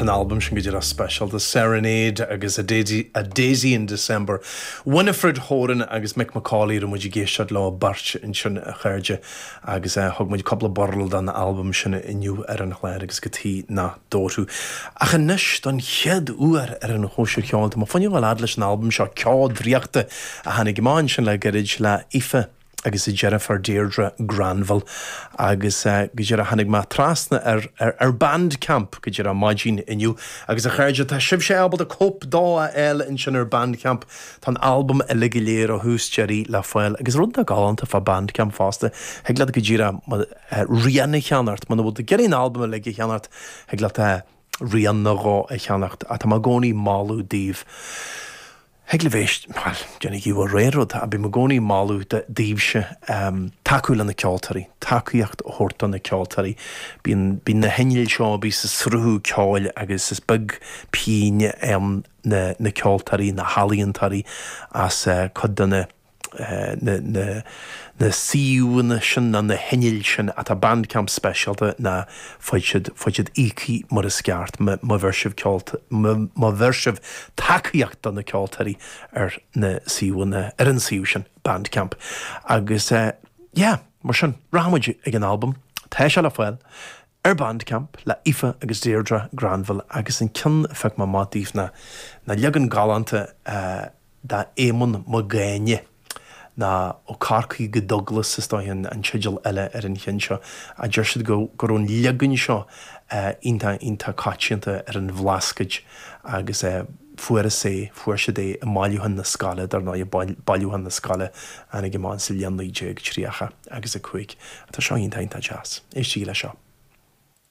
Tá an albam sin go díreach speisialta, Serenade agus A Daisy, A Daisy in December. Winifred Horan agus Mick McCauley a raibh muid ag éisteacht leo beirt ansin, a chairde, agus thug muid cúpla burl don albam sin inniu ar an chlár agus cad chuige nach dtabharfadh. Ach anois, don chéad uair ar an Chóisir Cheoil, tá mé fá choinne a ghabháil fhad leis an albam seo, Ceo Draíochta, a tháinig amach ansin le gairid le Aoife agus a deirfiúr Deirdre Granville agus go díreach tháinig mé trasna ar ar Bandcamp go díreach maidin inniu agus a chairde tá sibhse ábalta cóip dó a fháil ansin ar Bandcamp. Tá an albam uilig go léir ó thús deiridh le fáil agus rud atá galánta fá Bandcamp fosta thig leat go díreach rian a cheannacht muna bhfuil tú ag iarraidh an albam uilig a cheannacht thig leat rian nó dhó a cheannacht ach tá mé i gcónaí ag moladh daoibh Thig libh éist, bhuel, déanaigí bhur rogha rud, ach bím i gcónaí ag moladh daoibhse tacú le na ceoltóirí, tacaíocht a thabhairt do na ceoltóirí. Bíonn, bíonn na hinnill seo a bhíos ag sruthú ceoil agus is beag pingin a fhaigheann na, na ceoltóirí, na healaíontóirí as cuid de na, na, na, na suíomhanna sin nó na hinnill sin atá Bandcamp speisialta ná fuil siad, fuil siad íoctha mar is ceart má bheir sibh ceol, má bheir sibh tacaíocht do na ceoltóirí ar na suíomhanna, ar an suíomh sin, Bandcamp. Agus yeah, mar sin, rachaidh muid ag an albam, tá sé le fáil ar Bandcamp le Aoife agus Deirdre Granville agus an ceann a phioc mé amach daoibh ná, ná leagan galánta de Éamonn Mac Gáinne, nó Ó Corcaigh go Douglas is dóigh an teideal eile ar an cheann seo. Deir siad go raibh an leagan seo iontach iontach coitianta ar an Bhlascaod agus fuarthas é, fuair siad é i mbailiúchán na scoile, dar ndóigh, bailiúchán na scoile a tháinig amach sa bhliain 1930 agus 5. Tá seo iontach iontach deas. Éistigí leis seo.